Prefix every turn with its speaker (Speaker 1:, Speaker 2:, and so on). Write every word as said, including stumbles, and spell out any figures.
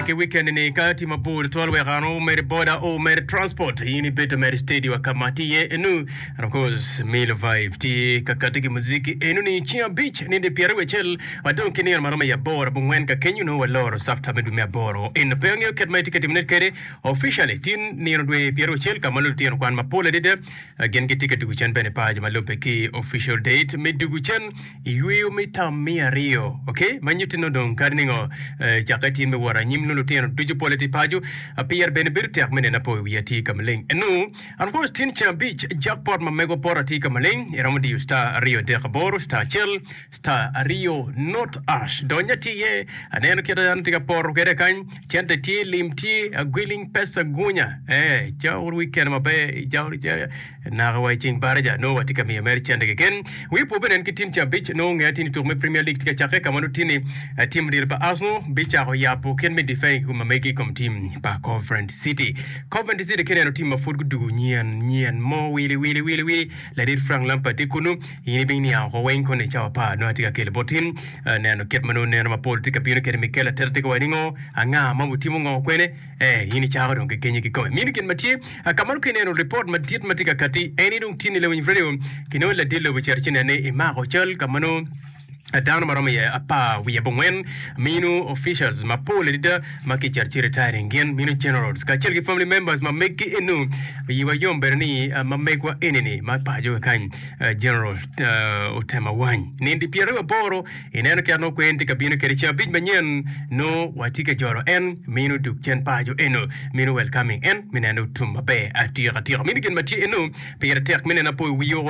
Speaker 1: Ki weekend ni ka tye mabor twal wek ano mere boda o mere transport in ibedo mere steady wa ka ma tye iye enu. And of course Milo Vibe tye ka kati ki muziki enu ni ceng abic ninde pyeraryo acel wadong ki nino maromo i aboro abongwen ka kenyo nongo waloro sapta me dwe me aboro eno pe angeyo kit ma itye ka timone kwede officially tin nino dwe pyeraryo acel ka ma lutino kwan mapol adada gin gitye ka dugo cen bene paco ma lubbe ki official date me dugo cen i yweyo me tam me aryo ok ma nyutti nongo dong kadi ningo eh, cakke tin me wot anyim nongo lutino ducu pole tye paco pire bene bedo tek me neno apo i wiya tye ka maleng enu. And of course tin ceng abic jackpot ma megwa poto tye ka maleng iromo diyo star aryo adek aboro star acel star aryo not ash donya tye iye aneno kit dano tye ka poto kwede kany cente tye lim tye agwiling pesa gunya eh cawor weekend maber cawor naka wa i ceng baraja nongo watye ka miyo mere cente keken wi po bene en ki tin ceng abic nongo ngeya tin i tuko me Premier League tye ka cakke ka ma nongo tin ni tim odilo pa Arsenal bicako yabo kit me defend ma megi i kom tim pa Coventry City. Coventry City ki neno tim ma pud gudugo nyen nyen mo wili wili wili wili ladit Frank Lampard tye kunu in ibing niang oko weng kono i cawa apar nongo atye ka kelo bot in neno kit ma nongo neno mapol tye ka bino kede Mikel Arteta tye ka waco ningo anga ma otimo ngo kwene eh in icako dong ki kenyo kikome mino gin ma tye ka ma nongo ki neno ripot madit ma tye ka kati en ni dong tye ni lawiny radio kinongo ladit lobo cito ci nene imako cal ka ma nongo dano ma romo iye apar wiye abongwen mino officials mapol adada ma kicito ci retiring gin mino generals kacel ki family members ma meggi enu yiwa yom bene ni ma megwa enini ma paco kany general Otema Wany nindi pyeraryo aboro ineno kit nongo kwen tye ka bino kede ceng abic manyen nongo watye ka jolo en mino dug cen paco eno mino welcoming en me neno tum maber atika tika mino gin ma tye eno pire tek me neno apoyo wiyo.